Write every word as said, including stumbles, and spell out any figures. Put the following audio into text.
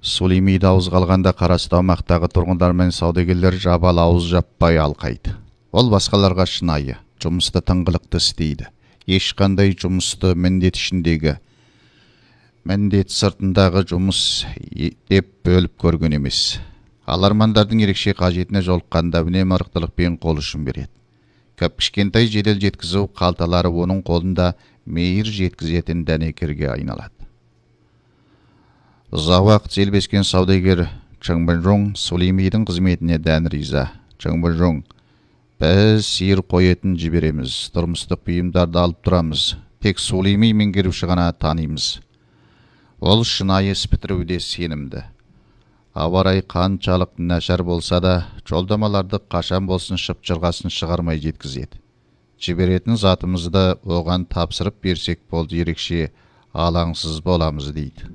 Сулеймиде ауыз калганда карасты аймактагы тургундар менен саудагерлер жабал ауыз жаппай алкайт. Ол башкаларга шынайы, жумусту тыңгылыктуу istейди. Эч кандай жумусту мендет ишиндеги, мендет сыртындагы жумус деп бөлүп көргөн эмес. Ал армандардын ерекше кажетине жолукканда үнемі арктылыкпен кол ушун берет. Көп кичкентай жедел жеткизүү калталары онун колунда мейир жеткизетін дәнекерге айналат. Ұзақ уақыт желбескен саудагер Чыңбынжоң Сулеймидің қызметіне дән риза. Чыңбынжоң, біз сиыр қоетін жибереміз, тұрмыстық бұйымдарды алып тұрамыз. Тек Сулейми меңгеруші ғана танимыз. Ол шынайы спитіруде сенімді. Аварай қанчалық нашар болса да, жолдамаларды қашан болсын шыпчырғасын шығармай жеткізеді. Жиберетін затымызды оған тапсырып берсек болды, ерекше алаңсыз боламыз дейді.